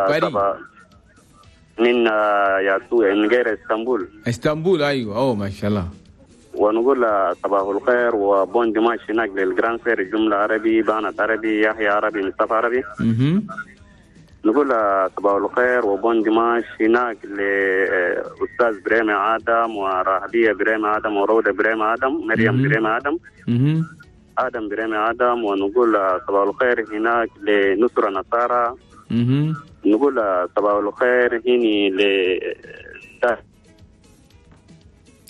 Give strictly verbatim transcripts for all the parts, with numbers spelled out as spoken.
باريس. من يا من غير اسطنبول. اسطنبول ايوه، اوه ما شاء الله. ونقول صباح الخير و bon dimanche هناك لل grand frère الجملة عربي، بانت عربي، يحيى عربي، مصطفى عربي. اها. نقول صباح الخير و bon dimanche هناك لأستاذ بريمي آدم وراهبية بريمي آدم وروضة بريمي آدم، مريم بريمي آدم، اها، آدم بريمي آدم. ونقول صباح الخير هناك لنصرة نصارى. اها. نقول صباح الخير هني ل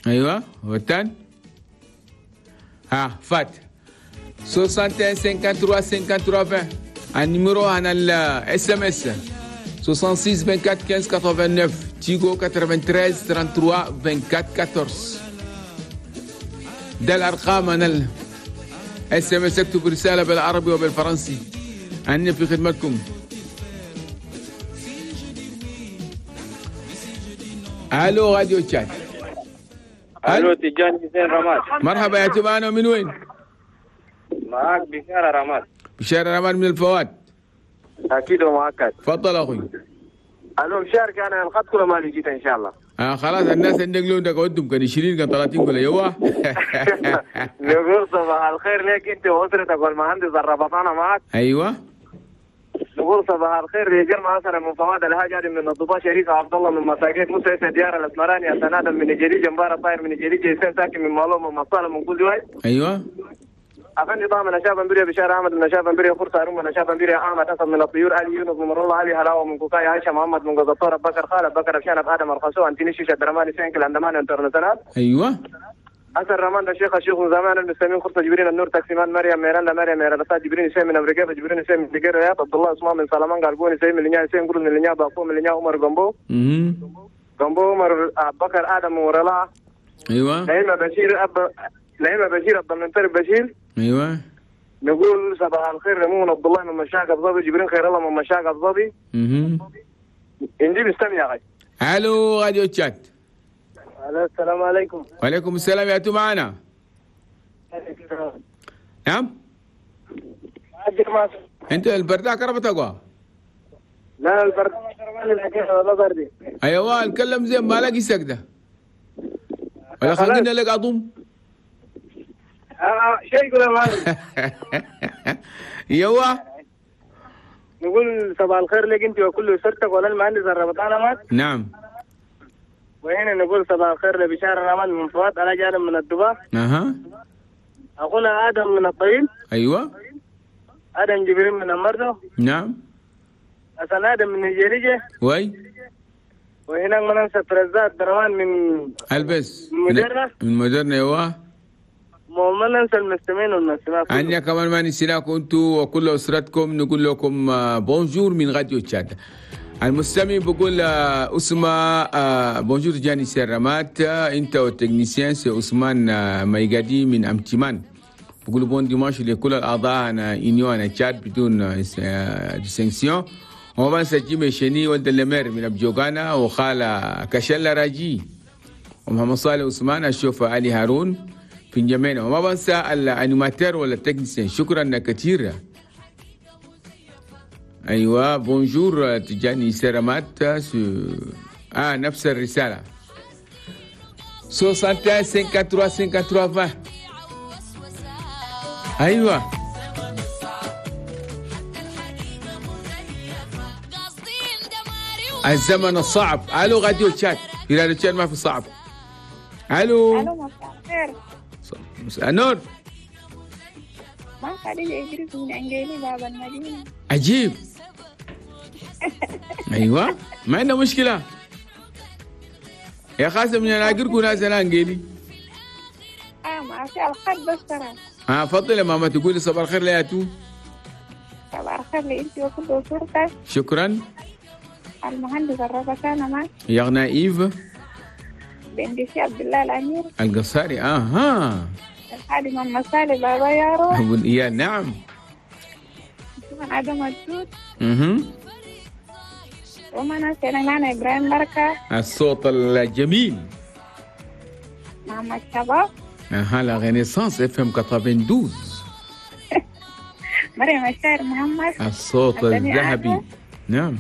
ايوه والتاني ها فات واحد وستين ثلاثة وستين ثلاثة وستين عشرين ال numéro هنا ال SMS ستة وستين أربعة وعشرين خمسة عشر تسعة وثمانين تيغو ثمانية وثلاثين ثلاثة وثلاثين أربعة وعشرين أربعة عشر. ده الارقام انا ال SMS، اكتب رسالة بالعربي وبالفرنسي، أنا في خدمتكم. الو راديو تشاد. الو تجاني حسين رماد. مرحبا يا تبانا، من وين؟ معاك بشارة رماد. بشارة رماد من الفواد. اكيد ومؤكد. تفضل اخوي. الو مشارك انا الخط كله ما لقيته ان شاء الله. اه خلاص الناس النقلون ده قدم كان عشرين كان ثلاثين كله يوا. نقول صباح الخير لك انت واسرتك والمهندس الربطانه معك. ايوه. نقول صباح الخير لجرم حسن من فواد الهاج آدم من الضباء شريف عبد الله من مساكين موسى يسعد ديار الاسمراني حسن ادم من الجليل جنبار الطاير من الجليل جيسان ساكن من مالوم من مصالة من كل واحد. ايوه. افندي طه من شاب بريا بشار احمد من شاب بريا فرصة هارون من شاب بريا احمد اسد من الطيور علي يونس من الله علي هلاوه من كوكاي عائشة محمد من قزطور بكر خالد بكر ابشان ادم الخسو انتيني شيشة درماني سينكل اندمان انترناسيونال. ايوه. حسن رمان الشيخ الشيخ زمان المسلمين خرطة جبرين النور تاكسيمان مريم ميراندا مريم ميراندا جبرين سيم من امريكا جبرين سيم من ديجر رياض عبد الله عثمان من سلمان قلبوني سيم من لنيا سيم قرن من لنيا باقو من لنيا عمر جنبو جنبو عمر بكر ادم ورلا. ايوه. نعيمه بشير اب نعيمه بشير عبد المنطلب بشير. ايوه. نقول صباح الخير لمون عبد الله من مشاق ابو ظبي جبرين خير الله من مشاق ابو ظبي. اها. نجيب استمع يا غاي. الو راديو تشات. السلام عليكم. وعليكم السلام، يا معنا. نعم. انت البردة كربت اقوى؟ لا البردة ما بردي. ايوه اتكلم زين ما لاقي سكده. ولا خلينا لك اضم. اه شيء يقول يا يوا. نقول صباح الخير لك انت وكل اسرتك ولا المهندس الربطانه مات. نعم. وهنا نقول صباح الخير لبشار الرحمن من فوات على جانب من الدبا. اها. اخونا ادم من الطويل. ايوه. ادم جبريل من المرضى. نعم. حسن ادم من الجريجه. وي. وهناك ما ننسى فرزات دروان من البس من مدرنا. من مدرنا ايوه. وما ننسى المستمعين والمستمعات. عندنا كمان ما نسيناكم انتم وكل اسرتكم، نقول لكم bonjour من راديو تشاد. المستمع بقول أسمة bonjour جاني سيرامات انت وال technicien سي عثمان ميغادي من امتمان، بقول bon dimanche لكل الاعضاء انا union انا تشاد بدون distinction. وما بنسى جيمي شني ولد اللمير من ابجوغانا وخالة كشلة راجي ومحمد صالح عثمان الشوفة علي هارون في جمينا، وما بنسى ال animateur ولا ال technicien، شكرا كثير. ايوه bonjour تجاني سيرامات. اه نفس الرسالة ستة وستين ثلاثة وثلاثين ثلاثة وثلاثين عشرين. ايوه الزمن الصعب. الو راديو تشاد. في راديو تشاد ما في صعب. الو. الو مساء الخير. مساء النور. ما خديجة إدريس من أنجيلي باب المدينة. عجيب. ايوه ما عندنا مشكلة يا خاسم، من انا ناس انا انجيلي. اه ما في الخط بس ترى. اه فضل يا ماما تقولي صباح الخير لياتو. صباح الخير لانت وكل اسرتك. شكرا. المهندس الربطانه معك. يغنى ايف بندسي عبد الله الامير القصاري. اها. الخادم المسالي بابا يارو ابو يا نعم. ادم الدود. اها. وما نسينا معنا إبراهيم بركة الصوت الجميل محمد شباب. اها la Renaissance FM تسعة وثمانين. مريم الشاعر محمد الصوت الذهبي. نعم.